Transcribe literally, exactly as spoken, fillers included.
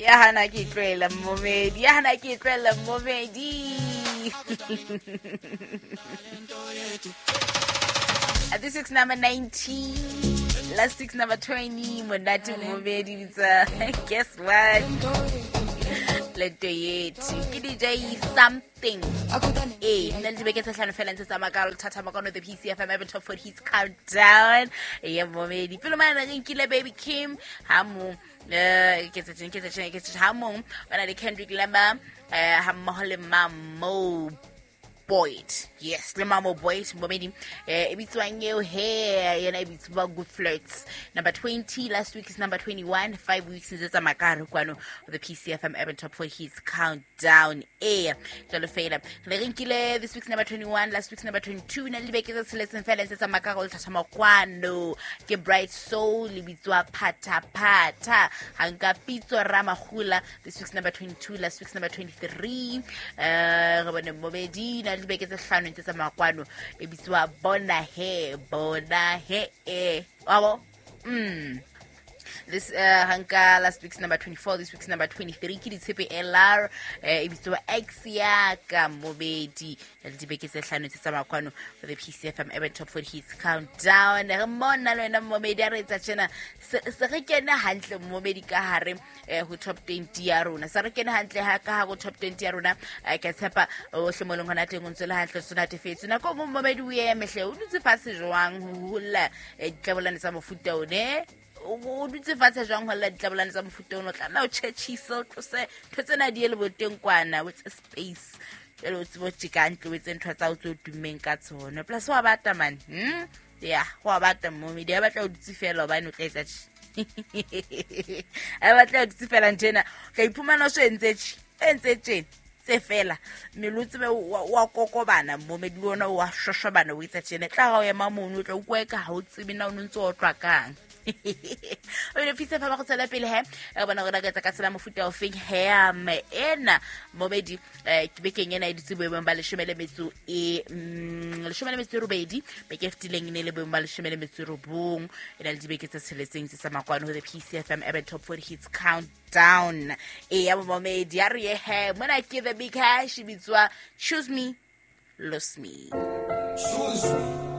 Ya hana ke tlohela momedi, ya hana ke tlohela momedi. At this week's number nineteen, last week's number twenty, monate momedi bitsa. Guess what? Lento yethu ke D J something. Eh, nna le dibeke tse hlano fela ntse tsa makalo thatha makano the P C F M Urban Top forty Hits Countdown. Ya momedi. Pele mane re nkile Baby Kim ha mo eh ke tse ke tse ke tse ha mong bana le Kendrick Lamar eh ha mmoho le Mamo Boyd. Yes, le Mamo Boyd momedi eh e bitswang eo he yena e bitswa Good Flirts. Number twenty last week is number twenty-one, five weeks ntse tsa makaro kwano the P C F M Urban Top forty Hits Countdown. Eh jalo fela re re nkile this week's number twenty-one, last week's number twenty-two, na le beke tse tsheletseng fela ntse tsa makaro le thatha makwano ke Bright Soul le bitswa Phata Phata. Ha nka Pitso Ramagula this week's number twenty-two, last week's number twenty-three. Eh re bone momedi na le beke tse hlano ntse tsa makwano e bitswa Bona He Bona He e wabo. Mm this uh hanka last week's number twenty-four, this week's number twenty-three ke Ditshepe L R eh e bitswa X ya ka mobedi le dibeke tse hlano tse tsa makwano for the P C F M Urban Top forty Hits Countdown. Re mona le wena momedi a re etsa tjena se re kene hantle momedi ka hare ho top twenty ya rona, se re kene hantle ha ka ha go top twenty ya rona. Ke tshepa o hle moleng hona teng o ntse le hantle sona tefetse nako mo momedi o eme hle o dutse fatshe jwang ho holla ditlabolane tsa mofuta one o dutse fatshe jwang ho lla ditlabolane tsa mofuta ono tlameha o tjhetjhise o tlose ntho tsena di ele boteng kwana with space jwale o tsebo tjeka ntle o etse ntho tsa o tse o tummeng ka tsona plus wa bata man. Hmm ya wa bata momedi a batla o dutse fela hobane o tla etsa tje a batla o dutse fela ntena o tla iphumana o so entse tje entse tje tse fela mmele o tsebe wa kokobana momedi le ona wa shoshobana o etsa tjena tla ga o ema mono o tla utlwa eka ha o tsebe na o ntse o tlwa kang. O ile fisa fa ba go tsela pele he re bona gore ka tsa ka tsela mofuta o feng he ame ena momedi ke bekeng ena e ditse boemong ba leshome le metso e leshome le metso e robedi beke fetileng ne le boemong ba leshome le metso e robong e na le dibeke tse tsheletseng tse tsa makwano ho the P C F M Urban Top forty Hits Countdown. E ya momedi a re he mona ke the big hash bitswa Choose Me Lose Me. Choose me.